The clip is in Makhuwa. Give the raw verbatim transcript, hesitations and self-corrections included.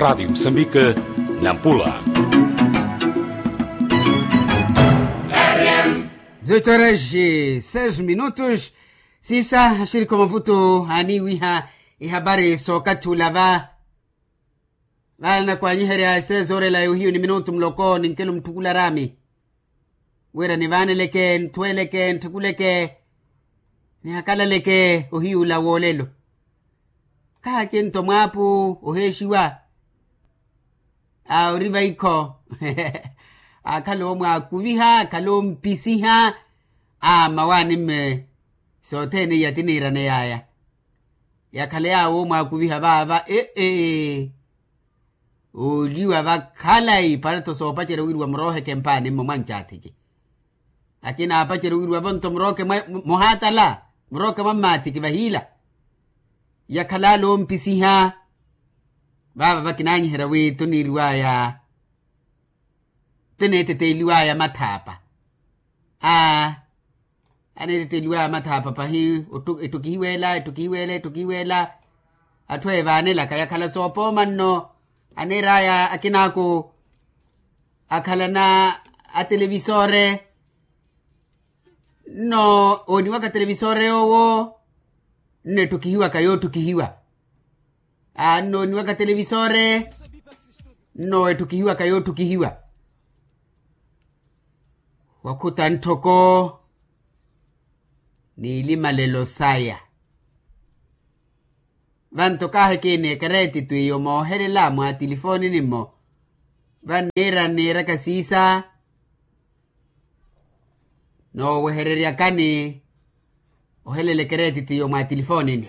Radiyo musambika, nampula. Zotxoraxi seis minutos. Sisa axirikho maputu aniiwiha ihapari sookathi ula va. Vale nakwanyiherya seis horas la yohiyo ni minutu muloko ninkelo mutthukula rami. Wira nivaaneleke nthuweleke ntthikuleke nihakalaleke ohiyuula woolelo. Khakinto mwaapu oheexiwa. Aa ori vaikho. Akhala omwaakuviha akhala ompisiha. Aa mmawaani mme sothene iya tiniiraneyaya. Yakhala yaawo omwaakuviha vaava ee. Ooliwa vakhalayi para-tho soopacerya wiriwa murooheke mpaani mmo mwancathiki. Akina aapacerya wiriwa vonto murooke muhaatala murooke mwa mmaathiki vahiila. Yakhala ale ompisiha. Vaava vakinanyiherya wi tuniiriwaya tineeteteeliwaya mathaapa. Aa aneeteteeliwaya mathaapa pahi. Ettukihiwela ettukihiwela ettukihiwela. Atthu evaanelaka yakhala soopooma nno. Aneeraya akinaaku akhalana atelevisore. Nno ooniwaka televisore yoowo nno ettukihiwaka yoottukihiwa. Aa nno ooniwaka televisore nno ettukihiwaka yoottukihiwa. Wakhuta ntthoko n'ilimalelo saya. Vanto kaahi kiini ekereetitu iyo moohelela mwa tilifoonini-mo. Vanniira nniiraka siisa noowehereryakani ohelela ekereetitu iyo mwa tilifoonini.